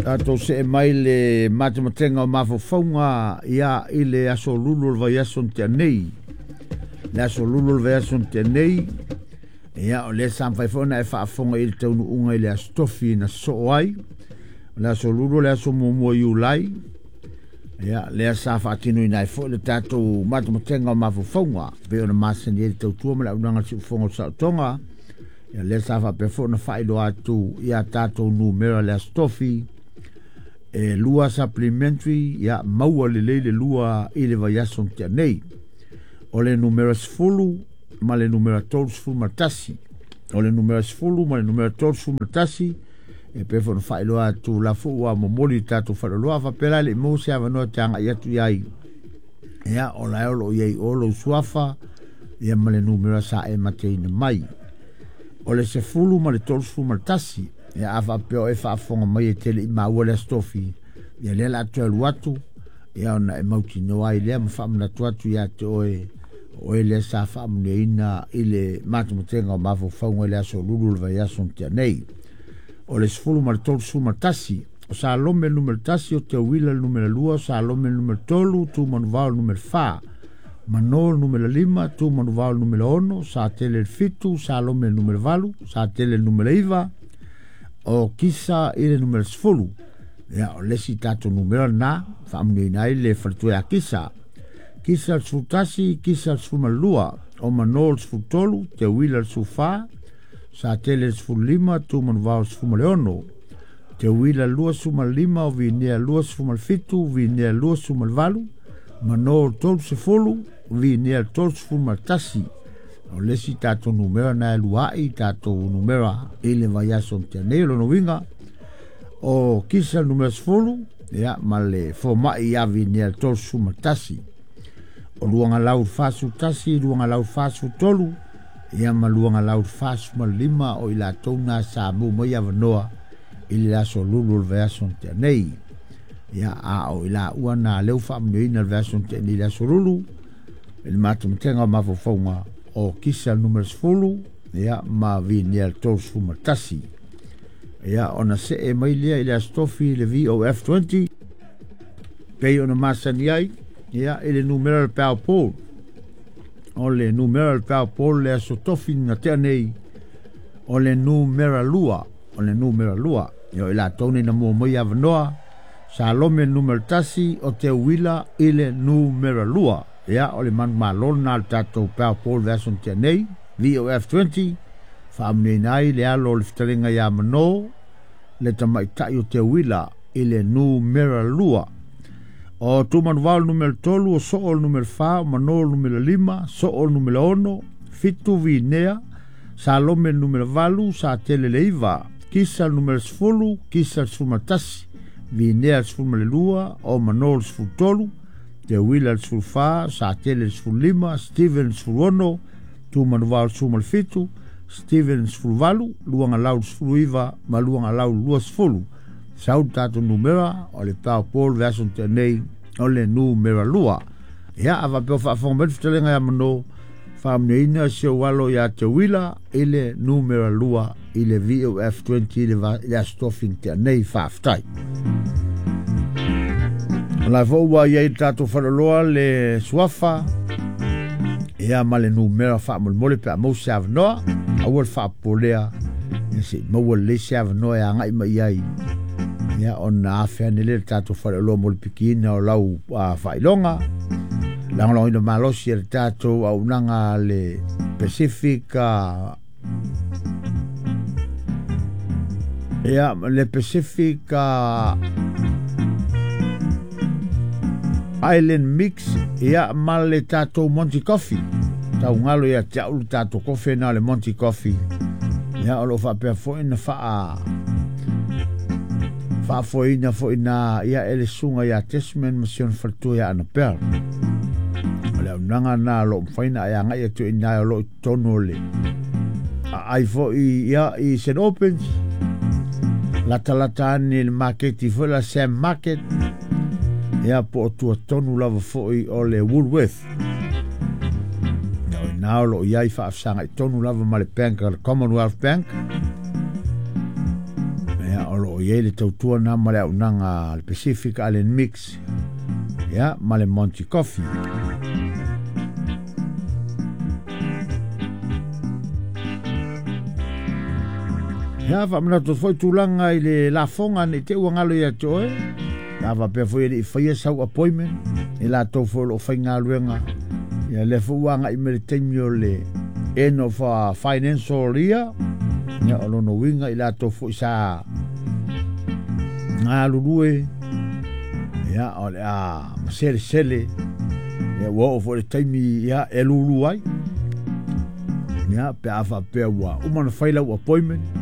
Tatou see mai le matematega o mafaufauga ia i le aso lulu o le vaiaso na tea nei. Le aso lulu o le vaiaso na tea nei, ia o lea sa mafai foi ona e faafofoga i le taunuuga i le aso tofi na sosoo ai. O le aso lulu o le aso muamua o Iulai, ia lea sa faatinoina ai foi le tatou matematega o mafaufauga e pei ona masani ai le tautua ma le auaunaga a le Siufofoga o le Saotoga. Ia lea sa faapea foi ona faailoa atu ia tatou numera le aso tofi e lua supplementary ia maua lelei le lua i le vaiaso na tea nei. O le numera 10 ma le numera 31. O le numera 10 ma le numera 31 e pei foi ona faailoa atu la foi ua momoli i tatou faleoloa faapea la e le i maua se avanoa e te agai atu i ai. Ia o la e o lo o i ai o lou suafa ia ma le numera sa e mateina mai. O le 10 ma le 31, ia a faapea o e faafofoga mai e te le i maua le aso tofi, ia lea o le a toe alu atu, ia ona e mautinoa ai lea ma faamanatu atu ia te oe, o oe lea sa faamanuiaina i le matematega o mafaufauga i le aso lulu o le vaiaso na tea nei. O le 10 ma le 31, o Salome le numera 1, o Teuila le numera 2, o Salome le numera 3, Tumanuvao le numera 4, Mano le numera 5, Tumanuvao le numera 6, Satele le 7, Salome le numera 8, Satele le numera 9, o Kisa i le numera 10. Ia, o le isi tatou numera lena, faamanuiaina ai le faletua ia Kisa. Kisa le 11, Kisa le 12, o Mano le 13, Teuila le 14, Satele le 15, Tumanuvao le 16, Teuila le 25, o Vinea 27, Vinea 28, Mano le 30, Vinea le 31. O le isi tatou numera na e lua'i tatou numera i le vaiaso na tea nei. O lona uiga, o Kisa le numera 10, ia, ma le fomai ia Vinea le 31. O Luagalau le 41, Luagalau le 43, ia ma Luagalau le 45 o i latou na sa maua mai avanoa i le aso lulu o le vaiaso na tea nei. Ia, a o i laua na lea ua faamanuiaina le vaiaso na tea nei i le aso lulu, i le matematega o mafaufauga o Kisa le numera 10, ia, ma Vinea le 31. Ia, ona see mai lea i le aso tofi i le VOF20, pei ona masani ai, ia, i le numera o le Powerpool. O le numera o le Powerpool le aso tofi na tea nei, o le numera 2, o le numera 2. Ia, o i latou nei na mua mai avanoa, Salome le numera 1, o Teuila i le numera 2. Ia, o le manumalo lena o le tatou Powerpool vaiaso na tea nei, VOF20, faamanuiaina ai le alo o le fetalaiga ia Mano, le tamaitai o Teuila i le numera 2. O Tumanuvao le numera 3, o Soo le numera 4, o Mano le numera 5, Soo le numera 6, 7 Vinea, Salome le numera 8, Satele le 9, Kisa le numera 10, Kisa le 11, Vinea le 12, o Mano le 13, Teuila le 14, Satele le 15, Steven le 16, Tumanuvao le 17, Steven le 18, Luagalau le 19 ma Luagalau le 20. Sau le tatou numera o le Powerpool vaiaso na tea nei, o le numera 2. Ia, a faapea o faafofoga mai le fetalaiga ia Mano, faamanuiaina si ou alo ia Teuila i le numera 2 i le VOF20 i le aso tofi na tea nei. Faafetai. O la foi ua i ai le tatou faleoloa le suafa, ia ma le numera faamolemole pe a maua se avanoa. Aua le faapopolea, ia se i maua lelei se avanoa e agai mai ai. Ia, ona afe ane lea le tatou faleoloa mo le pikiina o lau faailoga. Lagolagoina malosi e le tatou auaunaga a le Pacific, ia, le Pacific Island Mix, ia, ma le tatou Monty Coffee. Tau galo ia te au le tatou kofe na o le Monty Coffee. Ia, o lo o faapea foi na faafoeina foi na ia e le susuga ia Desmond ma si ona faletua ia Annabelle. O le auaunaga na o lo o mafai ona e agai atu i ina o lo o i totonu o le aai foi ia i St. Albans, latalata ane i le maketi foi la Sam Market, ia po o tua tonu lava foi o le Woolworth. Ia, o ina o lo o i ai faafesagai tonu lava ma le bank, le Commonwealth Bank. Ia, Ia, o loo i ai le tautua na ma le auaunaga a le Pacific Island Mix, ia, ma le Monty Coffee. Ia, faamanatu atu foi tulaga i le lafoga ne i te i ua galo ia te oe, pe a faapea foi e le i faia sau appointment, i latou foi o lo o faigaluega, ia lea foi ua agai mai le taimi o le end of financial year, ia o lona uiga i latou foi sa galulue, ia o le a maselesele, ia ua oo foi le taimi ia e lulu ai, ia pe a faapea ua uma ona fai lau appointment.